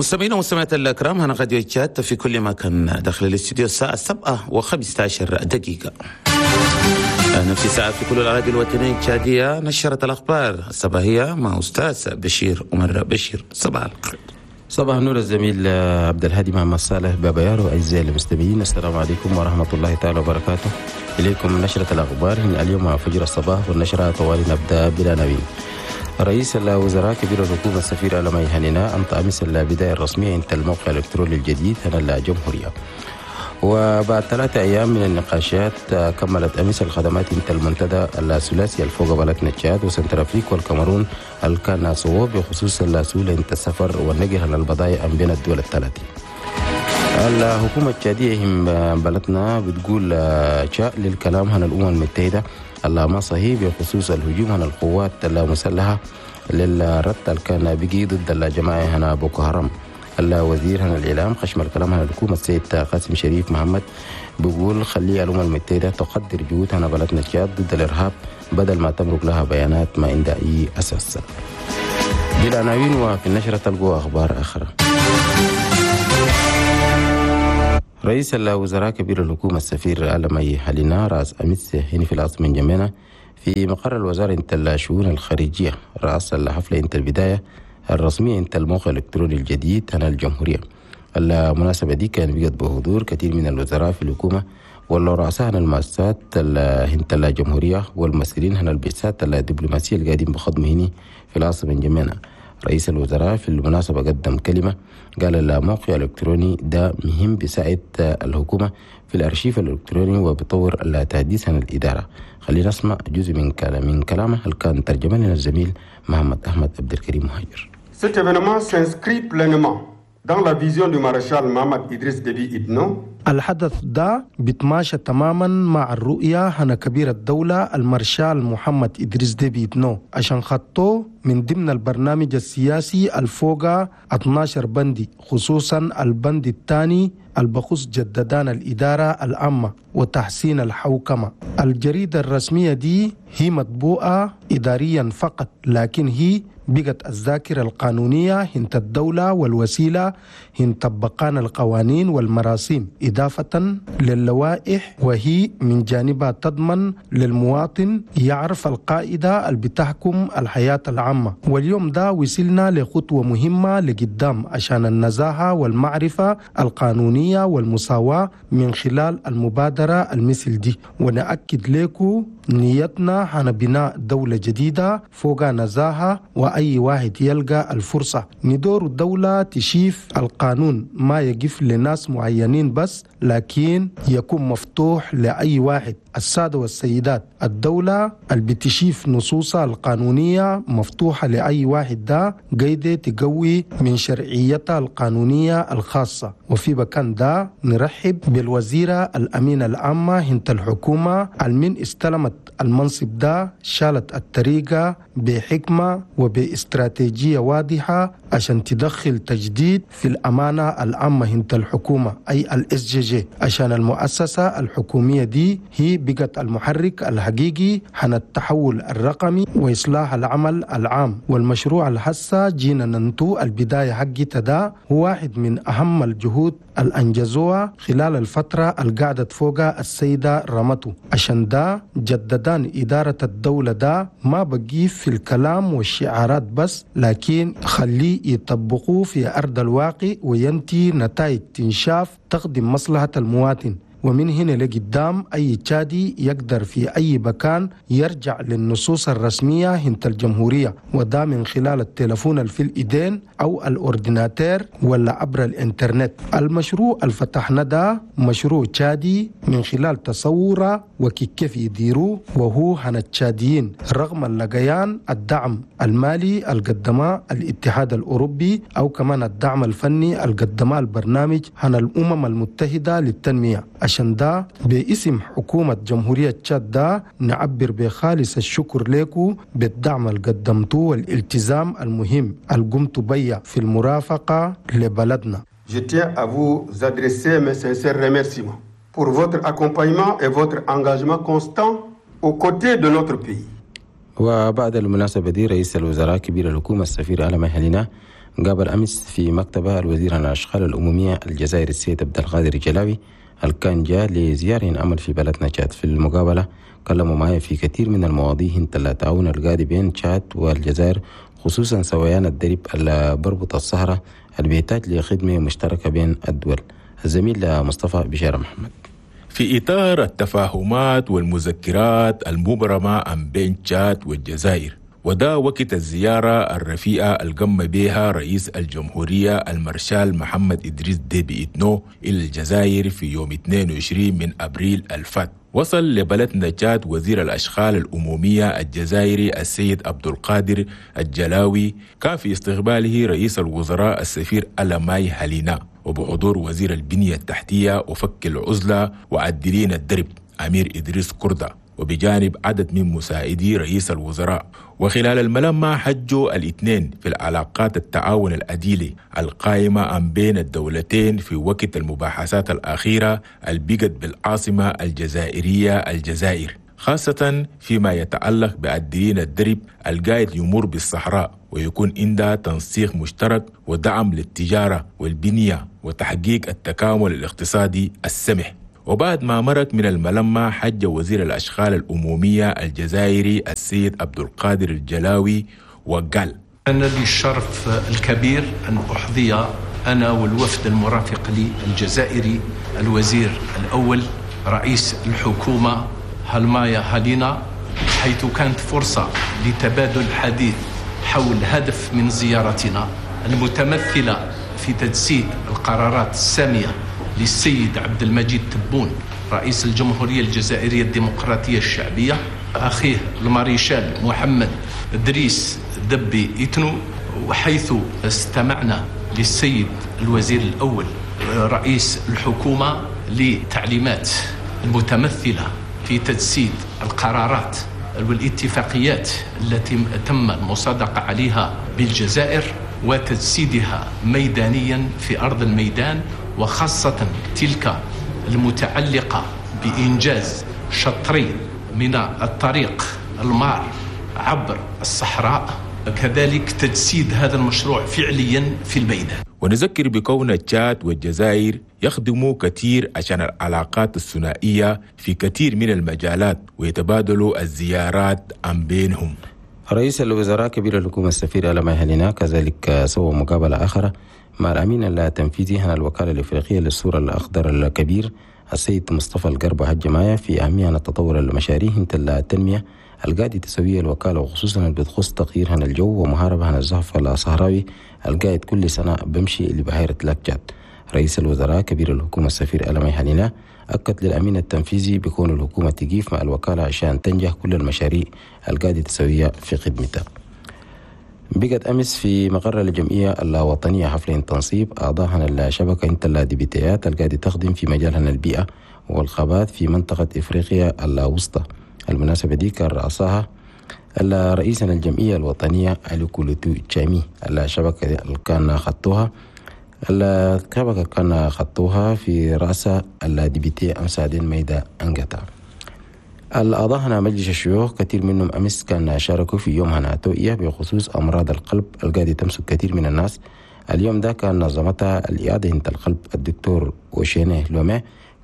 مستمعينا ومستمعات الكرام، هنا راديو تشاد في كل مكان. داخل الاستوديو الساعة 7:15. نفس الساعة في كل الأراضي الوطنية التشادية. نشرة الأخبار الصباحية مع أستاذ بشير عمر بشير. صباح الخير. صباح النور الزميل عبد الهادي محمد صالح بابا يارو. أعزائي المستمعين، السلام عليكم ورحمة الله تعالى وبركاته. إليكم نشرة الأخبار اليوم فجر الصباح، والنشرة طوالي نبدأ بالعناوين. رئيس الوزراء كبير الحكومة السفير ألمي هنينا أنطى أمس البداية الرسمية انت الموقع الإلكتروني الجديد هنا الجمهورية. وبعد 3 أيام من النقاشات، كملت أمس الخدمات انت المنتدى الثلاثي الفوق بلدنا تشاد وسنترافريك والكاميرون الكان سووا بخصوص السهولة انت السفر والنقل البضائع بين الدول الثلاثة. الحكومة التشادية هم بلدنا بتقول شاء للكلام هنا الأمم المتحدة الله ما صحيح بخصوص الهجوم هنا القوات المسلحة للرد اللي كان بيجي ضد الجماعة هنا بوكو حرام. الوزير هنا الإعلام خشم الكلام هنا الحكومة السيد قاسم شريف محمد بيقول خلي الأمم المتحدة تقدر جهود هنا بلدنا تشاد ضد الإرهاب بدل ما تمرق لها بيانات ما عندها أي أساس. دي العناوين، وفي النشرة تلقوا أخبار أخرى. رئيس الوزراء كبير الحكومة السفير ألمي حلينا رأس أمس هنا في العاصمة انجمينا في مقر الوزارة انت الشؤون الخارجية رأس الحفلة انت البداية الرسمية انت الموقع الإلكتروني الجديد هنا الجمهورية. المناسبة دي كان بقت بحضور كثير من الوزراء في الحكومة والرؤساء هنا المؤسسات انت الجمهورية والممثلين هنا البعثات الدبلوماسية القاعدين بخدمة هنا في العاصمة انجمينا. رئيس الوزراء في المناسبة قدم كلمة، قال الموقع الإلكتروني ده مهم، بيساعد الحكومة في الأرشيف الإلكتروني وبيطور التحديث عن الإدارة. خلينا نسمع جزء من كلامه اللي كان ترجمه لنا الزميل محمد أحمد عبد الكريم مهاجر. Cet événement s'inscrit pleinement dans la vision du maréchal Mahamat Idriss Déby Itno. الحدث ده بيتماشى تماما مع الرؤية هنا كبير الدولة المارشال محمد إدريس ديبي إتنو، عشان خطوه من ضمن البرنامج السياسي الفوقا 12 بندي، خصوصا البند الثاني البخص جددان الإدارة العامة وتحسين الحوكمة. الجريدة الرسمية دي هي مطبوعة إداريا فقط، لكن هي بقت الذاكرة القانونية هنت الدولة والوسيلة هن طبقان القوانين والمراسيم، إضافة للوائح، وهي من جانبها تضمن للمواطن يعرف القاعدة اللي بتحكم الحياة العامة. واليوم ده وصلنا لخطوة مهمة لقدام عشان النزاهة والمعرفة القانونية والمساواة من خلال المبادرة المثل دي. ونأكد لكم نيتنا هنا بناء دولة جديدة فوق نزاهة، وأي واحد يلقى الفرصة. ندور الدولة تشيف القانون ما يقف لناس معينين بس، لكن يكون مفتوح لأي واحد. السادة والسيدات، الدولة اللي بتشيف نصوصها القانونية مفتوحة لأي واحد ده قاعدة تقوي من شرعيتها القانونية الخاصة. وفي بكان ده نرحب بالوزيرة الأمينة العامة هنت الحكومة المن استلمت المنصب ده شالت الطريقة بحكمة وباستراتيجية واضحة عشان تدخل تجديد في الأمانة العامة هنت الحكومة، أي ال SGG، عشان المؤسسة الحكومية دي هي بقت المحرك الحقيقي عن التحول الرقمي وإصلاح العمل العام. والمشروع الحسة جينا ننتو البداية حقتها ده هو واحد من أهم الجهود الأنجزوها خلال الفترة القعدت فوقها السيدة رمتو، عشان ده جددان إدارة الدولة ده ما بقيف في الكلام والشعارات بس، لكن خليه يطبقوه في أرض الواقع وينتي نتائج تنشاف تخدم مصلحة المواطن. ومن هنا لقدام أي تشادي يقدر في أي مكان يرجع للنصوص الرسمية هنت الجمهورية، وده من خلال التلفون اللي في الإيدين أو ال ordinateur ولا عبر الإنترنت. المشروع اللي فتحنا ده مشروع تشادي من خلال تصوره وكيف يديروه وهو هنا التشاديين، رغم اللقيان الدعم المالي القدماه الاتحاد الأوروبي أو كمان الدعم الفني القدماه البرنامج هنا الأمم المتحدة للتنمية. عشان ده باسم حكومة جمهورية تشاد ده نعبر بخالص الشكر لكم بالدعم اللي قدمتوه والالتزام المهم اللي قمتوا بيه في المرافقة لبلدنا. Je tiens à vous adresser mes sincères remerciements pour votre accompagnement et votre engagement constant aux côtés de notre pays. وبعد المناسبة دي، رئيس الوزراء كبير الحكومة السفير ألمي هلينا قابل أمس في مكتبه الوزير عن الأشغال الأممية الجزائري السيد عبد القادر الجلاوي كان جاء لزيارة عمل في بلدنا تشاد. في المقابلة كلموا معي في كثير من المواضيع انت التعاون القادي بين تشاد والجزائر، خصوصا سويان الدرب اللي بربط الصحراء اللي بيحتاج لخدمة مشتركة بين الدول. الزميل مصطفى بشارة محمد. في إطار التفاهمات والمذكرات المبرمة بين تشاد والجزائر، وده وقت الزيارة الرفيئة القم بها رئيس الجمهورية المارشال محمد إدريس ديبي إتنو إلى الجزائر في يوم 22 من أبريل الفات. وصل لبلدنا تشاد وزير الأشغال الأمومية الجزائري السيد عبد القادر الجلاوي، كان في استقباله رئيس الوزراء السفير ألماي هالينا، وبحضور وزير البنية التحتية وفك العزلة وعدلين الدرب أمير إدريس كردة، وبجانب عدد من مساعدي رئيس الوزراء. وخلال الملمة حجوا الاثنين في العلاقات التعاون الأديلي القائمة عن بين الدولتين في وقت المباحثات الأخيرة البقت بالعاصمة الجزائرية الجزائر، خاصة فيما يتعلق بعدلين الدرب القايد يمر بالصحراء، ويكون عندها تنسيق مشترك ودعم للتجارة والبنية وتحقيق التكامل الاقتصادي السمح. وبعد ما مرق من الملمة حج وزير الأشغال الأمومية الجزائري السيد عبد القادر الجلاوي وقال: أنا لي الشرف الكبير أن أحظي أنا والوفد المرافق لي الجزائري الوزير الأول رئيس الحكومة هالمايا هالينا، حيث كانت فرصة لتبادل الحديث حول هدف من زيارتنا المتمثلة في تجسيد القرارات السامية للسيد عبد المجيد تبون رئيس الجمهورية الجزائرية الديمقراطية الشعبية، أخيه الماريشال محمد إدريس دبي إتنو، وحيث استمعنا للسيد الوزير الأول رئيس الحكومة لتعليمات المتمثلة في تجسيد القرارات والاتفاقيات التي تم المصادقة عليها بالجزائر وتجسيدها ميدانيا في أرض الميدان، وخاصة تلك المتعلقة بإنجاز شطرين من الطريق المار عبر الصحراء، كذلك تجسيد هذا المشروع فعليا في الميدان. ونذكر بكون تشاد والجزائر يخدموا كثير عشان العلاقات الثنائية في كثير من المجالات ويتبادلوا الزيارات عن بينهم. رئيس الوزراء كبير الحكومة السفير ألماي هالينا كذلك سوى مقابلة أخرى مع الأمين التنفيذي عن الوكالة الإفريقية للسور الأخضر الكبير السيد مصطفى القربة هجماية في أهمية التطور المشاريع التنمية القاعدة تسوية الوكالة، وخصوصا اللي بتخص تغيير عن الجو ومهاربة عن الزحف الصحراوي القاعد كل سنة بمشي لبحيرة لاك تشاد. رئيس الوزراء كبير الحكومة السفير ألماي هالينا أكد للأمين التنفيذي بكون الحكومة تقيف مع الوكالة عشان تنجح كل المشاريع القاعدة تسوية في خدمتها. بقت أمس في مقر الجمعية الوطنية حفل تنصيب أعضاء الشبكة انت الديبيتيات القاعدة تخدم في مجال البيئة والغابات في منطقة إفريقيا الوسطى. المناسبة دي كان رأسها رئيس الجمعية الوطنية ألوكولوتو تشامي. الشبكة اللي كان خطوها الشبكة كان خطوها في رأس الديبيتي أمسادين ميدا أنجتا. الأعضاء هنا مجلس الشيوخ كثير منهم أمس كان شاركوا في يوم هنا توعية بخصوص أمراض القلب القاعدة تمسك كثير من الناس. اليوم ده كان نظمتها الإعادة انت القلب الدكتور وشينه لومي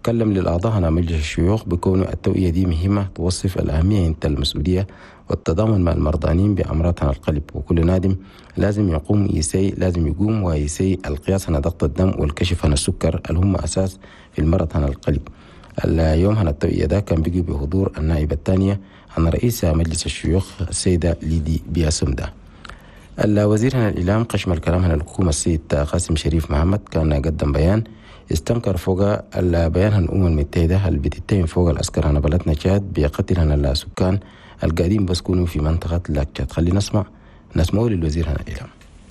كلم للأعضاء هنا مجلس الشيوخ بكون التوعية دي مهمة توصف الأهمية انت المسؤولية والتضامن مع المرضانين بأمراض هنا القلب، وكل نادم لازم يقوم يسي لازم يقوم ويسي القياس هنا ضغط الدم والكشف هنا السكر اللي هم أساس في المرض هنا القلب. اليوم هنا التوعية ده كان بيجي بحضور النائبة الثانية عن رئيس مجلس الشيوخ السيدة ليدي بياسومدا. الوزير هنا الإعلام قشم الكلام هنا الحكومة السيد قاسم شريف محمد كان قدم بيان استنكر فوق البيان هنا الأمم المتحدة اللي بتتهم فوق العسكر هنا بلدنا تشاد بقتل هنا السكان القاعدين بسكونوا في منطقة لاك تشاد. خلينا نسمعه للوزير هنا الإعلام.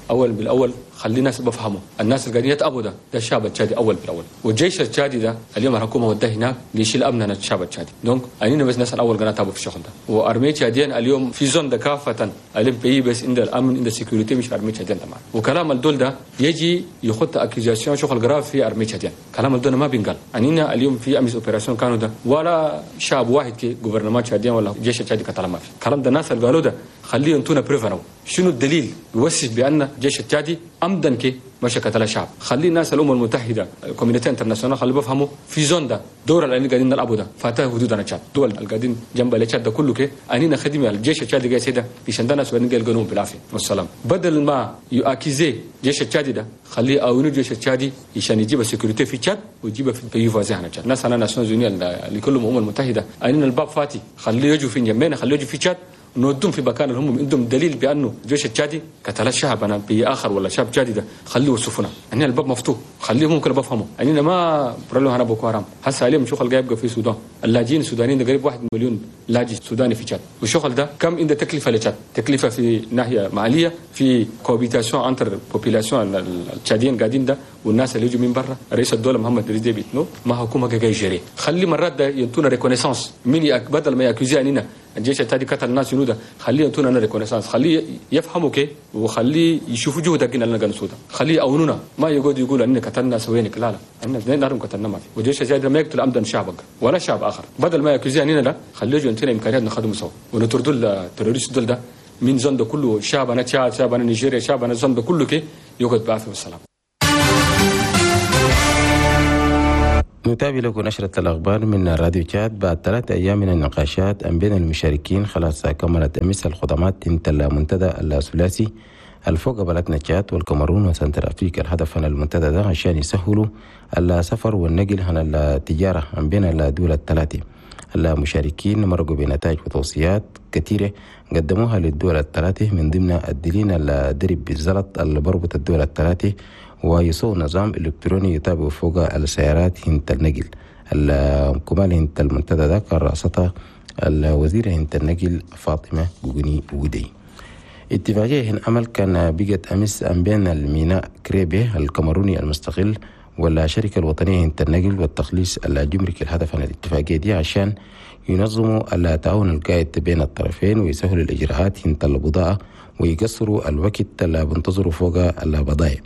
اول بالاول خلي الناس بفهموا، الناس اللي قاعدين يتأبوا ده الشعب التشادي اول بالاول، والجيش التشادي ده اليوم الحكومه وداه هناك ليشيل امننا الشعب التشادي، donc انينا بس الناس الاول قاعدين تابوا في الشغل ده، و armée tchadienne اليوم في zone ده كافه اليوم pays بس عند الامن عند ال sécurité مش armée tchadienne طبعا، وكلام الدول ده يجي يخط accusation شغل grave في armée tchadienne، كلام الدول ما بينقال، انينا اليوم في امس opération كانوا ده ولا شعب واحد كي gouvernement tchadien ولا جيش التشادي كلام ما في، كلام ده الناس اللي قالوا ده خليه ينطونا preuve شنو الدليل يوثق بان الجيش التشادي عمدا كي مشى قتل الشعب. خلي الناس الامم المتحدة، ال communauté internationale، خلي بفهموا في zone ده دور اللي قاعدين نلعبوا ده فاتاه حدودنا تشاد، دول اللي قاعدين جنب التشاد ده كله كي انينا خدمة الجيش التشادي قاعد سيده عشان ده ناس وين قالوا بالعافية والسلام. بدل ما ي accuser الجيش التشادي ده خليه اونو الجيش التشادي عشان يجيب sécurité في تشاد ويجيب في pays voisins هنا تشاد. ناس انا Nations Unies اللي كلهم الامم المتحدة انينا الباب فاتي، خليه يجوا في انجمينا، خليه يجوا في تشاد نودهم في مكان اللي هم عندهم دليل بانه الجيش التشادي قتل الشعب انا باخر ولا شعب تشادي ده خليه يوصفونا. اننا الباب مفتوح، خليهم ممكن بفهموا اننا ما برلو هنا بوكو حرام. هسه عليهم شغل جاي يبقى في السودان، اللاجئين السودانيين ده قريب 1 مليون لاجئ سوداني في تشاد، والشغل ده كم عنده تكلفة لتشاد، تكلفة في ناحية ماليه، في cohabitation entre populations التشاديين قاعدين ده والناس اللي يجوا من برا. رئيس الدولة محمد ادريس ديبي إتنو ما حكومة جاي gérer، خلي مرات ده ينطونا reconnaissance من بدل ما ي accuser اننا الجيش التشادي قتل الناس جنوده، خليه ينطونا reconnaissance، خليه يفهموا كي وخليه يشوفوا جهدك اللي قاعدين نسوده، خليه يعاونونا، ما يقعد يقول اننا قتلنا سوينك، لا لا احنا نعرف قتلنا ما في. والجيش التشادي ما يقتل عمدا شعبك ولا شعب اخر، بدل ما ي accuser اننا لا خليه يجوا ينطونا امكانيات نخدمه سوا ونطردوا ال terroristes دول ده من zone ده كله، شعبنا تشاد، شعبنا نيجيريا، شعبنا zone ده كله كي يقعد بعافية والسلام. نتابع لكم نشرة الأخبار من راديو تشاد. بعد 3 أيام من النقاشات بين المشاركين خلاص كملت أمس الخدمات انت المنتدى الثلاثي الفوق بلدنا تشاد والكاميرون وسنتر أفريقيا. الهدف من المنتدى ده عشان يسهلوا السفر والنقل عن التجارة بين الدول الثلاثة. المشاركين مرقوا بنتائج وتوصيات كثيرة قدموها للدول الثلاثة، من ضمن الدليل الدرب بالزلط اللي بربط الدول الثلاثة ويسوق نظام إلكتروني يتابع فوق السيارات هنت النقل. الكمال هنت المنتدى ده كان رأستها الوزيرة هنت النقل فاطمة جوجني ودي. اتفاقية هن أمل كان بقت أمس بين الميناء كريبي الكاميروني المستقل والشركة الوطنية هنت النقل والتخليص الجمركي. الهدف من الاتفاقية دي عشان ينظموا التعاون القائد بين الطرفين ويسهلوا الإجراءات هنت البضاعة ويقصروا الوقت اللي بنتظروا فوق البضائع.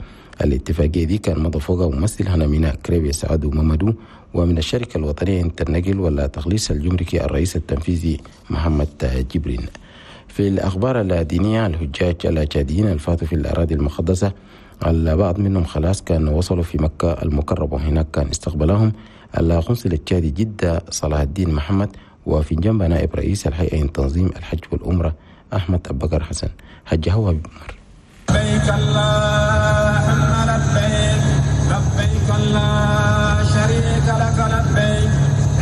الاتفاقية دي كان مضى فوقها ممثل هنا ميناء كريبي سعد ممدو، ومن الشركة الوطنية هنت النقل والتخليص الجمركي الرئيس التنفيذي محمد جبرين. في الأخبار الدينية، الحجاج التشاديين الفاتوا في الأراضي المقدسة البعض منهم خلاص كان وصلوا في مكة المكرمة، وهناك كان استقبلهم القنصل التشادي جدة صلاح الدين محمد، وفي جنب نائب رئيس الهيئة تنظيم الحج والعمرة أحمد أبو بكر حسن. حج هو بمر. لبيك اللهم لبيك، لبيك لا شريك لك لبيك،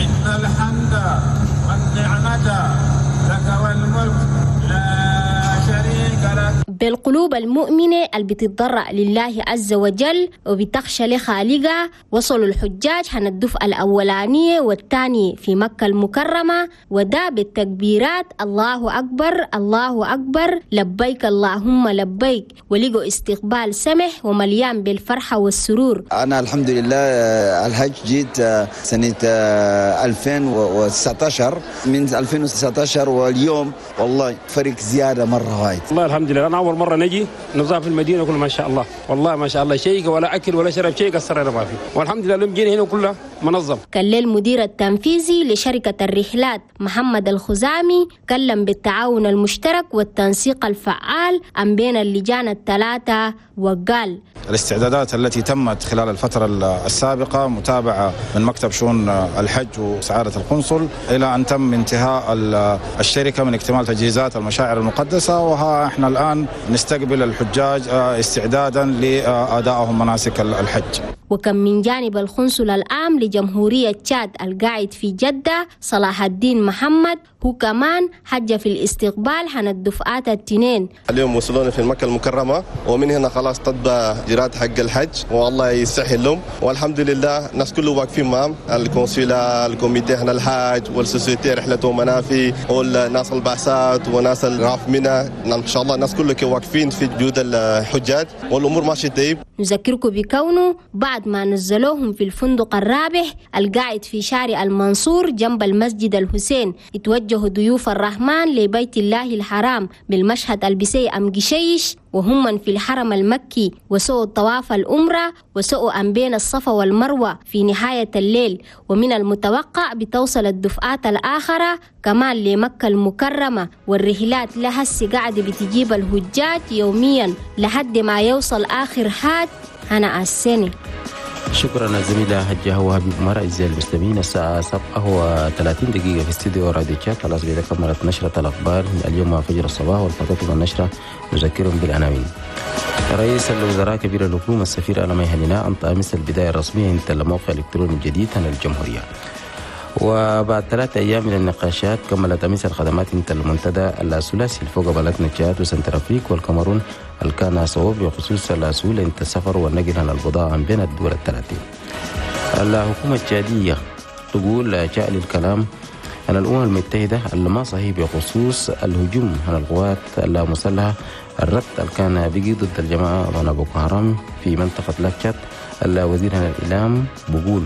إن الحمد والنعمة لك والملك لا شريك لك. بالقلوب المؤمنة اللي بتتضرع لله عز وجل وبتخشى لخالقها، وصلوا الحجاج عن الدفعة الأولانية والثانية في مكة المكرمة، وده بالتكبيرات الله أكبر الله أكبر لبيك اللهم لبيك، ولقوا استقبال سمح ومليان بالفرحة والسرور. أنا الحمد لله الحج جيت سنة 2019، من 2019 واليوم والله فرق زيادة مرة وايد. والله الحمد لله أنا أول مرة نجي نظام في المدينة كله ما شاء الله، والله ما شاء الله شيء ولا أكل ولا شرب شيء قصرنا ما فيه، والحمد لله لم جينا هنا كله منظم. كان المدير التنفيذي لشركة الرحلات محمد الخزامي كلم بالتعاون المشترك والتنسيق الفعال أم بين اللجان الثلاثة، وقال الاستعدادات التي تمت خلال الفترة السابقة متابعة من مكتب شؤون الحج وسعادة القنصل إلى أن تم انتهاء الشركة من اكتمال تجهيزات المشاعر المقدسة، وها احنا الآن نستقبل الحجاج استعدادا لأدائهم مناسك الحج. وكم من جانب القنصل العام لجمهورية تشاد القاعد في جدة صلاح الدين محمد هو كمان حج في الاستقبال عن الدفعات التنين. اليوم وصلونا في مكة المكرمة، ومن هنا خلاص تبدأ إجراءات حق الحج، والله يسهل لهم، والحمد لله الناس كله واقفين معهم، ال consulat، ال comité هنا الحاج وال société رحلته منافي والناس البعثات وناس الراف منى، ان شاء الله الناس كله واقفين في جود الحجاج والامور ماشية طيب. نذكركم بكونه بعض وبعد ما نزلوهم في الفندق الرابح القاعد في شارع المنصور جنب المسجد الحسين، اتوجهوا ضيوف الرحمن لبيت الله الحرام بالمشهد البسي أم قشيش وهم في الحرم المكي، وسووا الطواف الأمرة وسووا أم بين الصفا والمروة في نهاية الليل. ومن المتوقع بتوصل الدفعات الآخرة كمان لمكة المكرمة، والرحلات لها قاعدة بتجيب الهجاج يوميا لحد ما يوصل آخر حاج هنا السنة. شكرا الزميلة هجة وهبي عمر. أعزائي المستمعين، الساعة 7:30 في استديو راديو تشاد. خلاص بإذا كملت نشرة الأخبار اليوم فجر الصباح، والفترة النشرة نذكرهم بالعناوين. رئيس الوزراء كبير الحكومة السفير ألمي هنينا أنطى أمس البداية الرسمية عند الموقع الإلكتروني الجديد عن الجمهورية. وبعد 3 أيام من النقاشات كملت أمس الخدمات انت المنتدى الثلاثي الفوق بلدنا تشاد وسنترافريك والكاميرون الكان صوب بخصوص الأسول انت السفر والنقل عن البضاعة بين الدول الثلاثين. الحكومة التشادية تقول جاء للكلام أن الأمم المتحدة اللي ما صحيح بخصوص الهجوم على القوات المسلحة الرد اللي كان بيجي ضد الجماعة وانا بوكو حرام في منطقة لاك تشاد. الوزير الإعلام بقول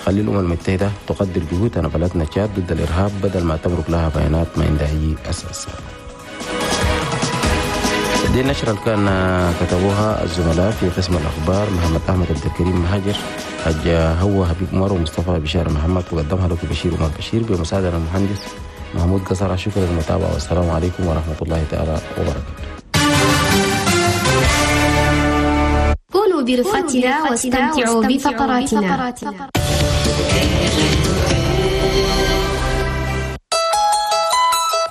خلي الأمم المتحدة تقدر جهودنا بلدنا تشاد ضد الإرهاب بدل ما تمرق لها بيانات ما عندها أي أساس. دي النشرة اللي كان كتبوها الزملاء في قسم الأخبار محمد أحمد عبد الكريم مهاجر، حج هو حبيب عمر، ومصطفى بشار محمد، وقدمها لكم بشير عمر بشير بمساعدة المهندس محمود قصر. شكرا للمتابعة والسلام عليكم ورحمة الله تعالى وبركاته. كونوا برفقتنا واستمتعوا بفقراتنا.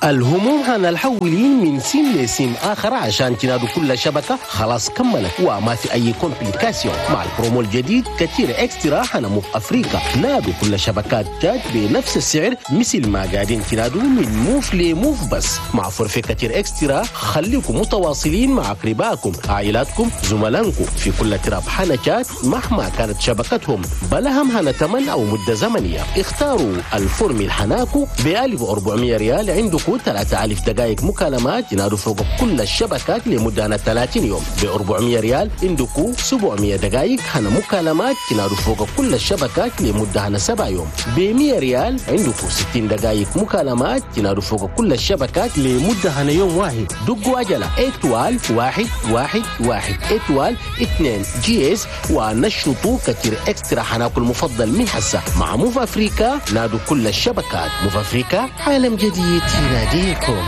الهموم هنا الحولين من سيم لسيم آخر عشان تنادوا كل شبكة خلاص كملت وما في أي complication. مع البرومو الجديد كتير Extra هنا موف أفريقيا، نادوا كل شبكات تشاد بنفس السعر مثل ما قاعدين تنادوا من موف لموف، بس مع forfait كتير Extra خليكم متواصلين مع أقربائكم عائلاتكم زملائكم في كل تراب حنا تشاد مهما كانت شبكتهم، بلهم هنا تمن أو مدة زمنية. اختاروا ال formule حناكو ب 1400 ريال عندكم 3000 دقائق مكالمات ينادوا فوق كل الشبكات لمدة 30 يوم. ب 400 ريال عندكم 700 دقائق هنا مكالمات ينادوا فوق كل الشبكات لمدة هنا 7 يوم. ب 100 ريال عندكم 60 دقائق مكالمات ينادوا فوق كل الشبكات لمدة هنا يوم واحد. دقوا عجلة étoile 1 1 1 étoile 2 dièse ونشطوا كتير Extra حناكل المفضل من حسة مع موف أفريكا. نادوا كل الشبكات. موف أفريكا، عالم جديد يناديكم.